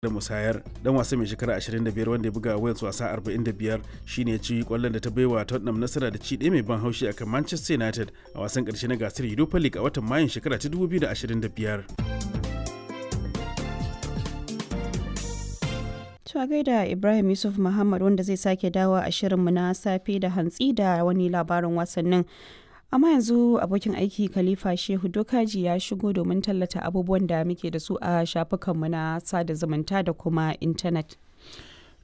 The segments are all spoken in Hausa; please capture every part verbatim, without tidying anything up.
Da musayar dan wasa mai shekara ashirin da biyar wanda ya buga Wales wasa arba'in da biyar shine ya ci kwallon da ta baiwa Tottenham nasara da ci ɗaya mai ban haushi akan Manchester United a wasan ƙarshe na gasar Europa League a watan Mayun shekara ta dubu biyu da ashirin da biyar. To a gaida Ibrahim Yusuf Muhammad, wanda zai sake dawo a shirinmu na safe da hantsi da wani labarin wasannin. Amma yanzu abokin aiki Khalifa Shehu Dokaji ya shigo domin tallata abubuwan da muke da su a shafukanmu na sada zumunta da kuma intanet.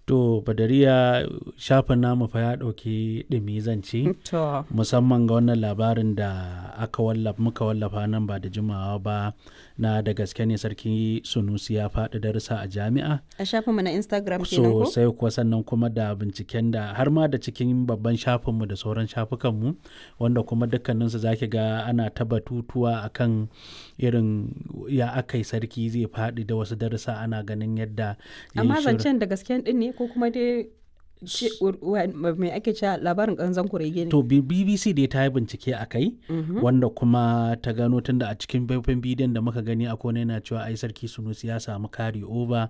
To Badariya, shafin namu fa ya ɗauki ɗumi zance. To. Musamman ga wannan labarin da aka wallafa, muka wallafa nan ba da jimawa ba, na da gaske ne Sarki Sunusi ya faɗi darussa a jami'a. A shafinmu na Instagram kenan ko? So sai kuwa, sannan kuma da binciken da har ma da cikin babban shafinmu da sauran shafukanmu, wanda kuma dukkaninsu zaki ga ana ta batutuwa akan irin ya aka yi sarki zai faɗi da wasu darussa, ana ganin yadda ya yi Amma shirin. zancen da gasken din ne ko kuma dai mai ake cewa labarin ƙanzon kurege ne? To B- BBC dai ta yi bincike a kai, wanda kuma ta gano, tunda a cikin faifan bidiyon da muka gani akwai wani yana cewa ai Sarki Sunusi ya samu carry over,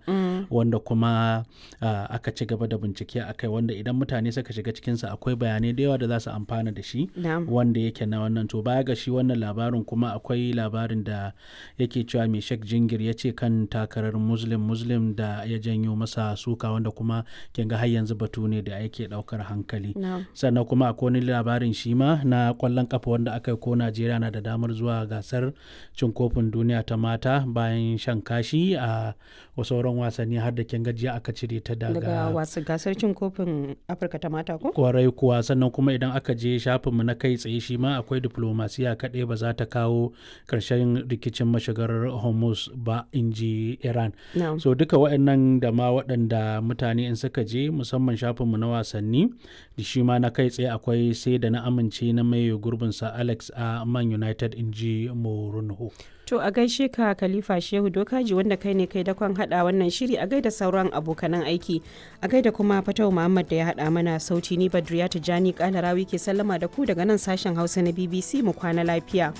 wanda kuma ah, aka ci gaba da bincike a kai, wanda idan mutane suka shiga cikinsa akwai bayanai da yawa da za su amfana da shi. Na'am. Wanda yake na wannan, to baya ga shi wannan labarin kuma akwai labarin da yake cewa mai Sheikh Jingir ya ce kan takarar Muslim Muslim da ya janyo masa suka, wanda kuma kin ga har yanzu batu ne da yake daukar hankali. Na'am. Sannan kuma akwai wani labarin shi ma na kwallon kafa wanda aka yi ko Najeriya na da damar zuwa gasar cin kofin duniya ta mata bayan shan kashi a sauran wasanni, har da kin gajiya aka cire ta Daga wasu gasar cin kofin Afirka ta mata ko? Kwarai kuwa. Sannan kuma idan aka je shafinmu na kai tsaye shi ma akwai diplomasiya kaɗai ba za ta kawo ƙarshen rikicin mashigar Hormuz ba, in ji Iran. Na'am. So duka waɗannan da ma waɗanda mutane in suka je musamman shafinmu na wasanni da shi ma na kai tsaye akwai sai da na amince na mai gurbinsa Alex a Man United, in ji Mourinho. To a gaishe ka Khalifa Shehu Dokaji, wanda kai ne kai dakon hada wannan shiri, a gaida sauran abokanan aiki, a gaida kuma Fatau Muhammad da ya hada mana sauti. Ni Badriya Tijani Kalarawi ke sallama da ku daga nan sashen Hausa na B B C. Mu kwana lafiya.